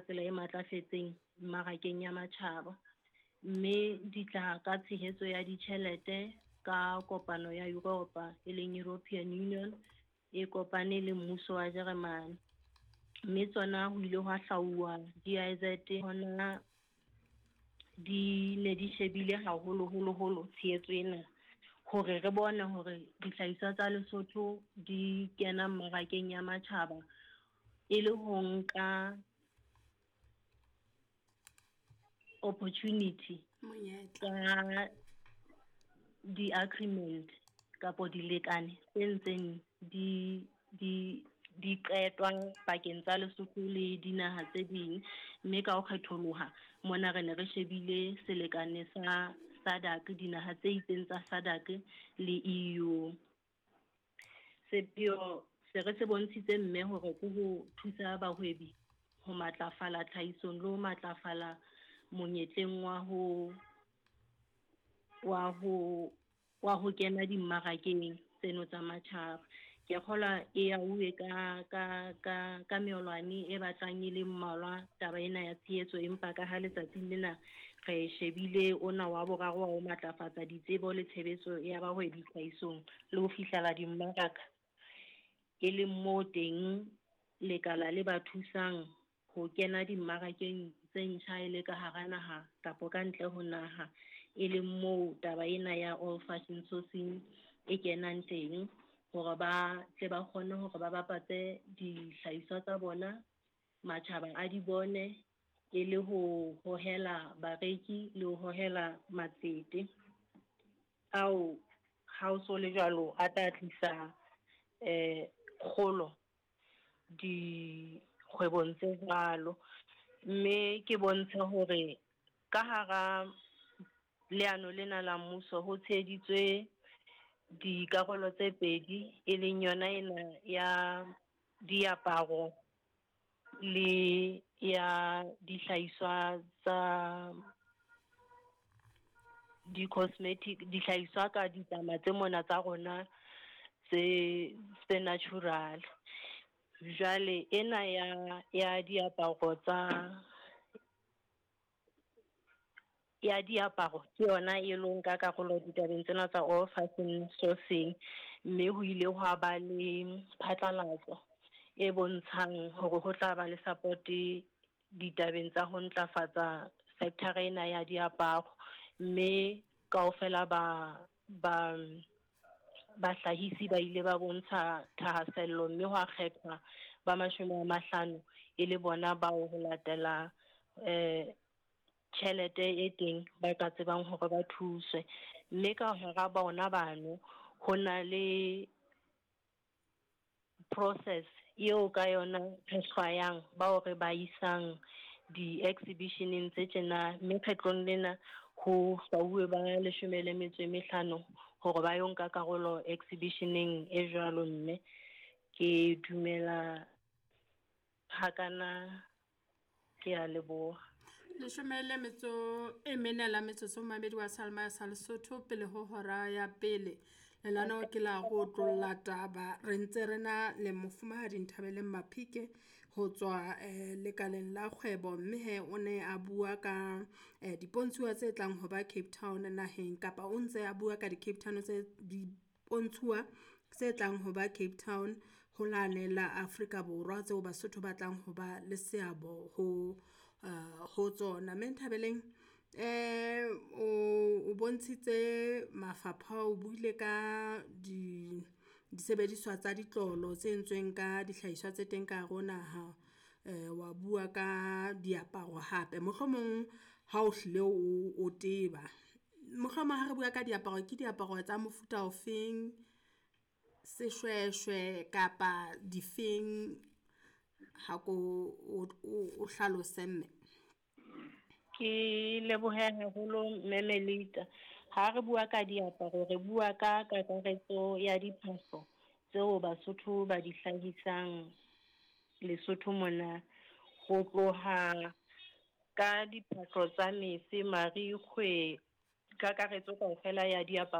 tsela e matlafetseng mmarakeng ya matjhaba. Mme di tla ka tshehetso ya ditjhelete ka kopano ya Yuropa, e leng European Union, e kopane le mmuso wa Jeremane. Mme tsona ho ile hwa hlauwa GIZ hona di ne di shebile haholo-holo-holo tshehetso ena hore re bone hore dihlahiswa tsa Lesotho di kena mmarakeng ya matjhaba e le ho nka opportunity Monyetla. Tsa di-agreement kapo dilekane tse ntseng di qetwa pakeng tsa Lesotho le dinaha tse ding. Mme ka ho kgetholoha mona re ne re shebile selekane sa SADC, dinaha tse itseng tsa SADC le EU. Sepheo se re se bontshitse mme hore ke ho thusa bahwebi ho matlafala tlhahisong le ho matlafala monyetleng wa ho kena dimmarakeng tseno tsa matjhaba. Ke kgolwa e auwe ka meolwane e batlang e le mmalwa taba ena ya tshehetso, empa ka ha letsatsing lena re shebile ona wa boraro wa ho matlafatsa ditsebo le tshebetso ya bahwebi tlhahisong le ho fihlela dimmaraka, e leng moo teng lekala le ba thusang ho kena dimmarakeng tse ntjha e le ka hara naha kapo ka ntle ho naha, e leng moo taba ena ya all fashion sourcing e kenang teng hore ba tle ba kgone hore ba bapatse dihlahiswa tsa bona, matjhaba a di bone, e le ho hohela bareki le ho hohela matsete ao ha o so le jwalo a tla tlisa kgolo dikgwebong tse jwalo. Mme ke bontshe hore ka hara leano lena la mmuso ho tsheheditswe dikarolo tse pedi, e leng yona ena ya diaparo le ya dihlahiswa tsa di-cosmetic, dihlahiswa ka ditlama tse mona tsa rona tse natural. Jwale ena ya diaparo tsa ya diaparo ke yona e lo nka karolo ditabeng tsena tsa all fashion sourcing, mme ho ile hwa ba le phatlalatso e bontshang hore ho tla ba le support ditabeng tsa ho ntlafatsa sector ena ya diaparo, mme kaofela ba bahlahisi ba ile ba bontsha thahasello, mme hwa kgethwa ba 50 e le bona bao ho latela tjhelete e teng ba ka tsebang hore ba thuswe. Mme ka hara bona bano ho na le process eo ka yona re hlwayang bao re ba isang di-exhibitioneng tse tjena, mme kgetlong lena ho hlwauwe ba 15 hore ba yo nka karolo exhibitioneng e jwalo. Mme ke dumela hakana, ke a leboha. 14 la metsotso, momamedi wa Salma sa Lesotho, pele ho hora ya pele. Lenaneo ke la ho otlolla taba. Re ntse re na le mofumahadi Nthabeleng Maphike ho tswa lekaleng la kgwebo, mme he o ne a bua ka dipontshuwa tse tlang ho ba Cape Town naheng, kapa o ntse a bua ka di-Cape Town tse dipontshuwa tse tlang ho ba Cape Town ho lane la Afrika Borwa tseo Basotho ba tlang ho ba le seabo ho tsona. Mme Nthabeleng, o bontshitse mafapha, o buile ka di disebediswa tsa ditlolo tse entsweng ka dihlahiswa tse teng ka hare ho naha, wa bua ka diaparo hape. Mohlomong ha o hlile o teba, mohlomong ha re bua ka diaparo, ke diaparo tsa mofuta ofeng, seshweshwe kapa difeng, ha ko o hlalose mme. Ke lebohe haholo mme Melita. Ha re bua ka diaparo re bua ka kakaretso ya diphahlo tseo Basotho ba di hlahisang Lesotho mona, ho tloha ka diphahlo tsa mese, marikgwe, kakaretso kaofela ya diaparo.